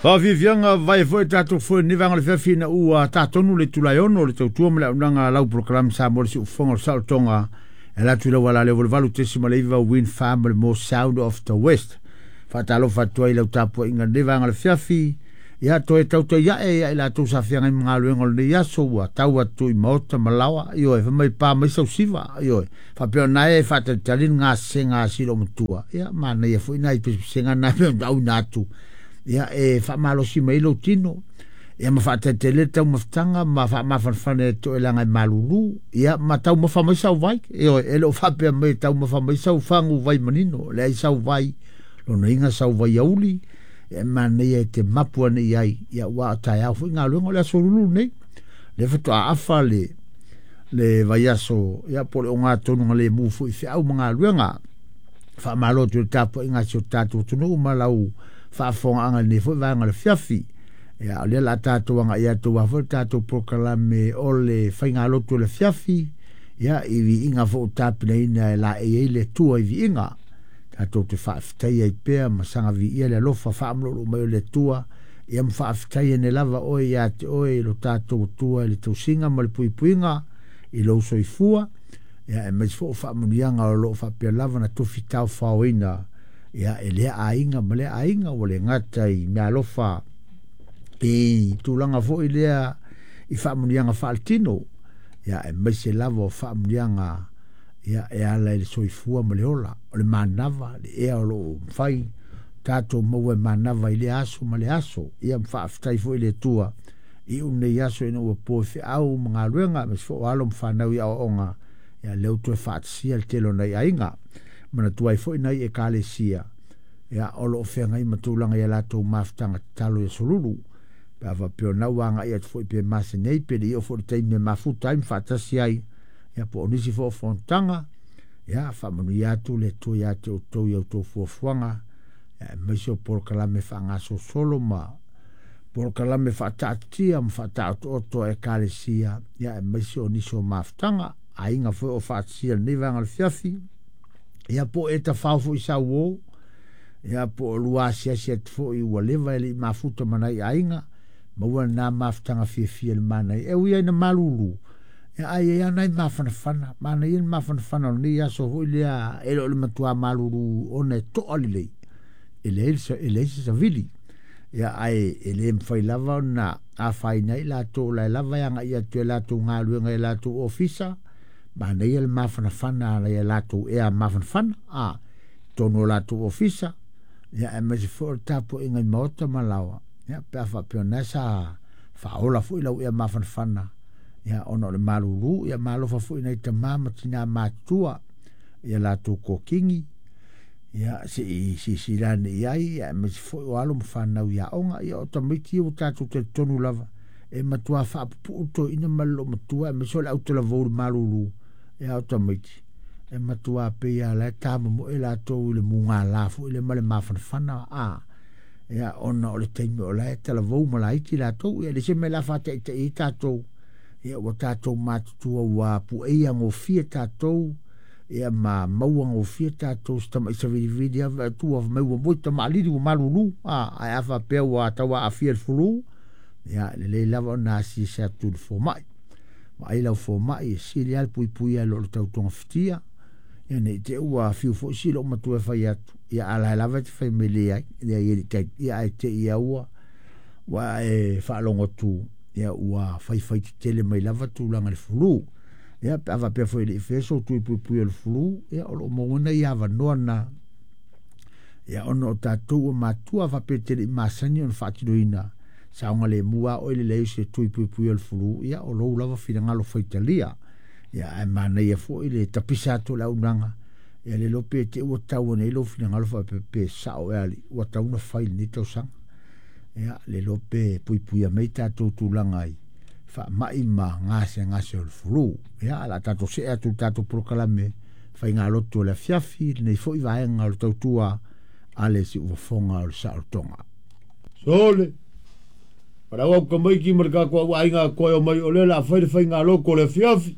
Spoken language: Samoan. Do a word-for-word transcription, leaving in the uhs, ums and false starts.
Faafiafiaga vai foi tatou foi ni vaega o le fiafi ina ua tatonu le itula e ono le tautua ma le auaunaga a lau polokalame Samoa le Siufofoga o le Saolotoga e ala atu i lau ala lea valu tesima le iva Wind Farm le mo Sound of the West. Faatalofa atu ai lau tapuaiga lenei vaega o le fiafi. Ia toe tautai ae ia i latou sa feagai ma galuega o lenei aso ua tau atu i maota ma laoa ioe fai mai pa mai sausiva ioe faapea ona e faatalitali le gasega a silo matua ia manaia foi nai pesepesega na pe ona auina atu ia e faamalosi mai lou tino ia ma faatalitali le taumafataga ma faamafanafana e toelaga e malulu ia ma taumafa mai sau vai ioe e le o faapea mai taumafa mai sau fagu vai manino leai sau vai lona iga sau vai auli e manaia e te mapu ane i ai ia ua taeao foi galuega o le aso lulu nei le faatoa afa le le vaiaso ia po o le ogatonu le mu foi feau ma galuega faamalo atu i le tapuaiga a si o tatou atunuu ma lau faafofogaaga i lenei foi vaega o le fiafi ia o lea o le a tatou agai atu aua foi le tatou polokalame o le faigalotu o le fiafi ia i viiga foi ua tapenaina e laei ai le Atua i viiga tatou te faafetai ai pea ma saga viia le alofa faamululu mai o le Atua ia ma faafetai ane lava oe ia te oe i lo tatou Atua i le tausiga ma le puipuiga i lou soifua ia aemaise foi o faamanuiaga o loo faapea lava na tofi taofaoina ia e lea aiga ma lea aiga ua le gata i meaalofa i tulaga foi lea i faamanuiaga faaletino ia aemaise lava o faamanuiaga ia e ala i le soifua ma le ola o le manava le ea o loo mafai tatou maua e manava i lea aso ma le aso ia ma faafetai foi i le Atua i unei aso ina ua po e feau ma galuega aemaise foi o alo ma fanau i aoaoga ia lea ua toe faatasia le tele o nai aiga manatua ai foi nai ekalesia ia o loo feagai ma tulaga ia latou mafutaga tatalo i aso lulu pe a faapea o na ua agai atu foi pe masenei pe le i oo foi le taimi e mafuta ai ma faatasi ai ia po o nisi foi o fonotaga ia faamanuia atu le Atua ia te outou i a outou fuafuaga aemaise o polokalame faagasolosolo ma polokalame faataatitia ma faataotooto a ekalesia ia aemaise o nisi o mafutaga aiga foi o faatasia lenei vaega o le fiafi ia po o e tafao foi sau o ia po o lua asiasi atu foi ua leva e le i mafuta ma nai aiga maua lena mafutaga fiafia i le manaia e ui ai na malulu ia ai ai nai mafanafana manaia le mafanafana o lenei aso foi lea e le o le matua malulu ona e toa lelei e leai e leai se savili ia ae e le mafai lava ona afaina ai latou la e lava e agai atu e latou galuega i latou ofisa manaia le mafanafana ala ia latou ea mafanafana a totonu o latou ofisa ia aemaise foi o le tapuaiga i maota ma laoa ia pe a faapea o na sa faaola foi lau ea mafanafana ia ona o le malulu ia malofa foi nai tamā ma tinā matutua ia latou kokigi ia se i silasila ane i ai ia aemaise foi o alo ma fanau i aoga ia o tamaiti ia ua tatou talitonu lava e matua faapupuu toeaina ma le loomatua aemaise o le autalavou i le malulu ia o tamaiti e matua pei lava la e tamomoe latou i le mugala foi le ma le mafanafana a ia ona o le taimi o la e talavou ma laiti latou ia le se mea la faataitai ai tatou ia ua tatou matutua ua pueia gofie tatou ia ma maua gofie tatou se tama'i savilivili ava atu mai ua moi tamalili ua malulu a ae a faapea ua tau aafia le fulu ia lelei lava ona asiasi atu i le fomai vaai lau fomai e sili lava le puipuia i lo le tautogafitia ia nei te ua fiu foi si loomatua e fai atu ia a lae lava e te fai mai leai leai e le tai ia ae te i ua ua e faalogo atu ia ua faifai tetele mai lava tulaga i le fulu ia pe a faapea foi e le i faia sou tui puipui o le fulu ia o loo maua nai avanoa na ia ona o tatou ua matua faapea te le i masani ona faatinoina saogalemu a oe le leai o se tui puipui o le fulu ia o lou lava finagalo faitalia ia ae manaia foi le tapisa atu o le auaunaga ia le iloa pe te ua tau ane ai lou finagalo faapea pe sao ea alii ua tatau ona fai i lenei tausaga ia le iloa pe puipuia mai tatou tulaga i faamai ma gasegase o le fulu ia o le a tatou see atu i le tatou polokalame faigalotu o le afiafi lenei foi vaega o le tautua a le siufofoga o le saolotoga. Sole, para au kamaiki ma le kako au aiga koe o mai o le la fai le faigalotu o le afiafi.